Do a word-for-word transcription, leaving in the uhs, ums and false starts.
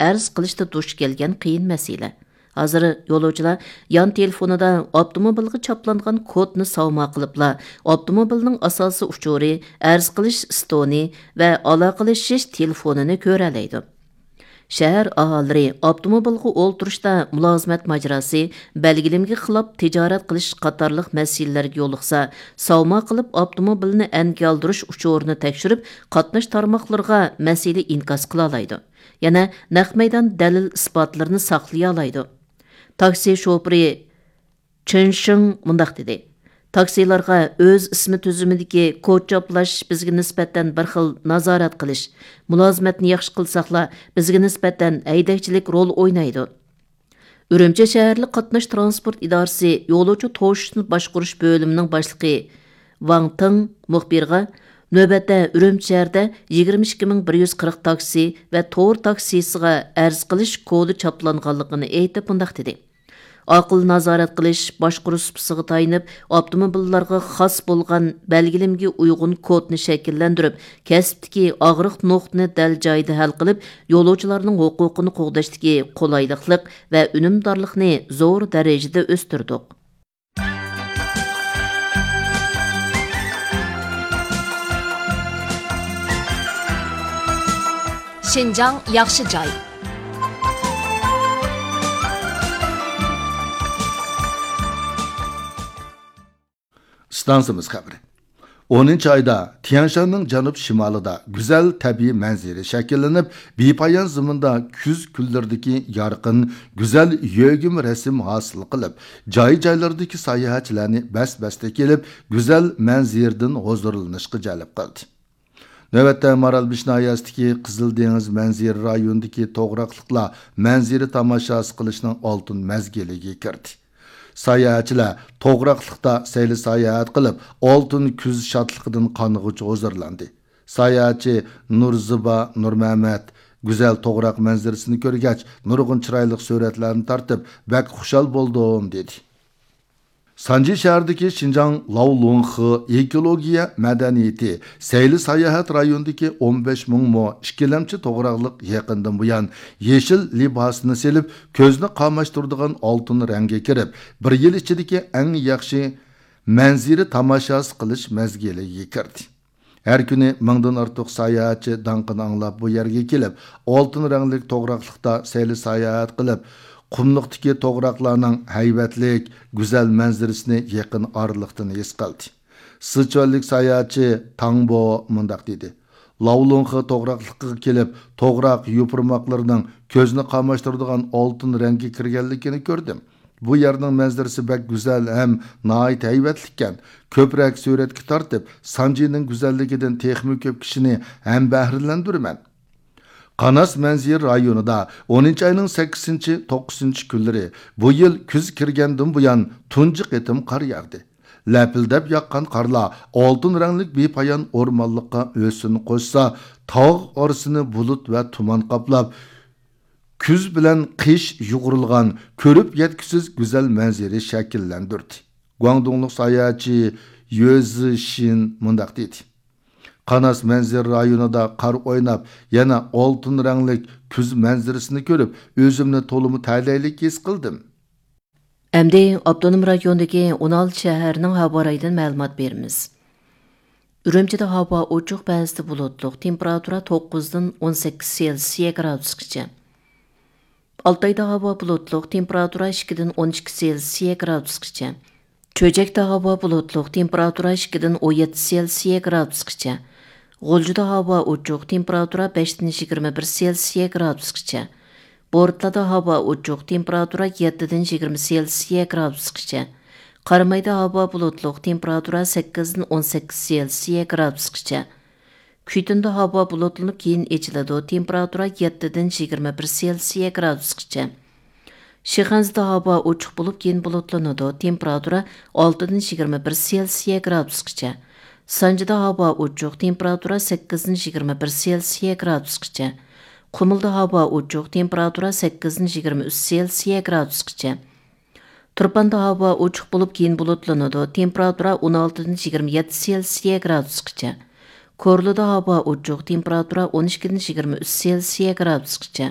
ئەرز قىلىشتا دۇچ كەلگەن قىيىن مەسىلە. ھازىر يولۇچىلار يان تېلېفونىدا ئاپتوموبىلغا چاپلانغان كودنى ساۋما قىلىپلا، ئاپتوموبىلنىڭ ئاساسىي ئۇچۇرى، ئەرز قىلىش ئىستونى ۋە ئالاقىلىشىش تېلېفونىنى كۆرەلەيدۇ. شەھەر ئاھالىلىرى ئاپتوموبىلغا ئولتۇرۇشتا مۇلازىمەت ماجىراسى، بەلگىلىمىگە خىلاپ تىجارەت قىلىش قاتارلىق مەسىلىلەرگە يولۇقسا، ساۋما قىلىپ ئاپتوموبىلنى ئەنگە ئالدۇرۇش ئۇچۇرىنى تەكشۈرۈپ، قاتناش تارماقلىرىغا مەسىلە ئىنكاس قىلالايدۇ. يەنە نەق مەيدان دەلىل ئىسپاتلىرىنى ساقلىيالايدۇ. تاكسى شوپۇرى چېن شېڭ مۇنداق دېدى: تاكسىلارغا ئۆز ئىسمى تۈزۈمىدىكى كود چاپلاش بىزگە نىسبەتەن بىر خىل نازارەت قىلىش، مۇلازىمەتنى ياخشى قىلساقلا، بىزگە نىسبەتەن ھەيدەكچىلىك رول ئوينايدۇ. ئۈرۈمچى شەھەرلىك قاتناش ترانسپورت ئىدارىسى يولۇچى توشۇشنى باشقۇرۇش بۆلۈمىنىڭ باشلىقى ۋاڭ تېڭ مۇخبىرغا، نۆۋەتتە ئۈرۈمچى شەھىرىدە يىگىرمە ئىككى مىڭ بىر يۈز قىرىق تاكسى ۋە تور تاكسىسىغا ئەرز قىلىش كودى چاپلانغانلىقىنى ئېيتىپ، مۇنداق دېدى: ئاقىل نازارەت قىلىش باشقۇرۇش سۇپىسىغا تايىنىپ، ئاپتوموبىللارغا خاس بولغان بەلگىلىمىگە ئۇيغۇن كودنى شەكىللەندۈرۈپ، كەسىپتىكى ئاغرىق نۇقتىنى دەل جايىدا ھەل قىلىپ، يولۇچىلارنىڭ ھوقۇقىنى قوغداشتىكى قولايلىقلىق ۋە ئۈنۈمدارلىقنى زور دەرىجىدە ئۆستۈردۇق. شىنجاڭ ياخشى جاي. ئىستانسىمىز خەۋىرى. ئونىنچى ئايدا تيەنشاننىڭ جەنۇب شىمالىدا گۈزەل تەبىئىي مەنزىرە شەكىللىنىپ، بىپايان زېمىندا كۈز كۈنلىرىدىكى يارقىن، گۈزەل يۆگىمە رەسىم ھاسىل قىلىپ، جاي-جايلاردىكى ساياھەتچىلەرنى بەس-بەستە كېلىپ، گۈزەل مەنزىرىدىن ھۇزۇرلىنىشقا جەلپ قىلدى. نۆۋەتتە مارالبېشى ناھىيەسىدىكى قىزىل دېڭىز مەنزىرە رايونىدىكى توغراقلىقلار مەنزىرە تاماشاسى قىلىشنىڭ ئالتۇن مەزگىلىگە كىردى. ساياھەتچىلەر توغراقلىقتا سەيلە ساياھەت قىلىپ، ئالتۇن كۈز شادلىقىدىن قانغۇچە ھۇزۇرلاندى. ساياھەتچى نۇرزىبا نۇرمەمەت گۈزەل توغراق مەنزىرىسىنى كۆرگەچ، نۇرغۇن چىرايلىق سۈرەتلەرنى تارتىپ، بەك خۇشال بولدۇم، دېدى. سانجى شەھىرىدىكى شىنجاڭ لاۋلۇڭخې ئېكولوگىيە مەدەنىيىتى سەيلە ساياھەت رايونىدىكى ئون بەش مىڭ مو ئىككىلەمچى توغراقلىق يېقىندىن بۇيان يېشىل لىباسىنى سېلىپ، كۆزنى قاماشتۇرىدىغان ئالتۇن رەڭگە كىرىپ، بىر يىل ئىچىدىكى ئەڭ ياخشى مەنزىرە تاماشاسى قىلىش مەزگىلىگە كىردى. ھەر كۈنى مىڭدىن ئارتۇق ساياھەتچى داڭقىنى ئاڭلاپ بۇ يەرگە كېلىپ، ئالتۇن رەڭلىك توغراقلىقتا سەيلە ساياھەت قىلىپ، قۇملۇقتىكى توغراقلارنىڭ ھەيۋەتلىك، گۈزەل مەنزىرىسىنى يېقىن ئارىلىقتىن ھېس قىلدى. سىچۈەنلىك ساياھەتچى تاڭبو مۇنداق دېدى: لاۋلۇڭخې توغراقلىقىغا كېلىپ، توغراق يوپۇرماقلىرىنىڭ كۆزنى قاماشتۇرىدىغان ئالتۇن رەڭگە كىرگەنلىكىنى كۆردۈم. بۇ يەرنىڭ مەنزىرىسى بەك گۈزەل ھەم ناھايىتى ھەيۋەتلىككەن. كۆپرەك سۈرەتكە تارتىپ، سانجىنىڭ گۈزەللىكىدىن تېخىمۇ كۆپ كىشىنى ھەم بەھرىلەندۈرىمەن. قاناس مەنزىرە رايونىدا ئونىنچى ئاينىڭ سەككىزىنچى، توققۇزىنچى كۈنلىرى بۇ يىل كۈز كىرگەندىن بۇيان تۇنجى قېتىم قار ياغدى. لەپىلدەپ ياغقان قارلار ئالتۇن رەڭلىك بىپايان ئورمانلىققا ھۆسن قوشسا، تاغ ئارىسىنى بۇلۇت ۋە تۇمان قاپلاپ، كۈز بىلەن قىش يۇغۇرۇلغان، كۆرۈپ يەتكۈسىز گۈزەل مەنزىرە شەكىللەندۈردى. گۇاڭدۇڭلۇق ساياھەتچى يۆ زىشىن مۇنداق دېدى: قاناس مەنزىرە رايونىدا قار ئويناپ، يەنە ئالتۇن رەڭلىك كۈز مەنزىرىسىنى كۆرۈپ، ئۆزۈمنى تولىمۇ تەلەيلىك ھېس قىلدىم. ئەمدى ئاپتونوم رايوندىكى ئون ئالتە شەھەرنىڭ ھاۋا رايىدىن مەلۇمات بېرىمىز. ئۈرۈمچىدە ھاۋا ئوچۇق، بەزىدە بۇلۇتلۇق، تېمپېراتۇرا توققۇزدىن ئون سەككىز سېلسىيە گرادۇسقىچە. ئالتايدا ھاۋا بۇلۇتلۇق، تېمپېراتۇرا ئىككىدىن ئون ئىككى سېلسىيە گرادۇسقىچە. چۆچەكتە ھاۋا بۇلۇتلۇق، تېمپېراتۇرا ئىككىدىن ئون يەتتە سېلسىيە گرادۇسقىچە. غۇلجىدا ھاۋا ئوچۇق، تېمپېراتۇرا بەشتىن يىگىرمە بىر سېلسىيە گرادۇسقىچە. بورتالادا ھاۋا ئوچۇق، تېمپېراتۇرا يەتتىدىن يىگىرمە سېلسىيە گرادۇسقىچە. قارامايدا ھاۋا بۇلۇتلۇق، تېمپېراتۇرا سەككىزدىن ئون سەككىز سېلسىيە گرادۇسقىچە. كۈيتۇندا ھاۋا بۇلۇتلىنىپ، كېيىن ئېچىلىدۇ، تېمپېراتۇرا يەتتىدىن يىگىرمە بىر سېلسىيە گرادۇسقىچە. شىخەنزىدە ھاۋا ئوچۇق بولۇپ، كېيىن بۇلۇتلىنىدۇ، تېمپېراتۇرا ئالتىدىن يىگىرمە بىر سېلسىيە گرادۇسقىچە. سانجىدا ھاۋا ئوچۇق، تېمپېراتۇرا سەككىزدىن يىگىرمە بىر سېلسىيە گرادۇسقىچە. قۇمۇلدا ھاۋا ئوچۇق، تېمپېراتۇرا سەككىزدىن يىگىرمە ئۈچ سېلسىيە گرادۇسقىچە. تۇرپاندا ھاۋا ئوچۇق بولۇپ، كېيىن بۇلۇتلىنىدۇ، تېمپېراتۇرا ئون ئالتىدىن يىگىرمە يەتتە سېلسىيە گرادۇسقىچە. كورلىدا ھاۋا ئوچۇق، تېمپېراتۇرا ئون ئىككىدىن يىگىرمە ئۈچ سېلسىيە گرادۇسقىچە.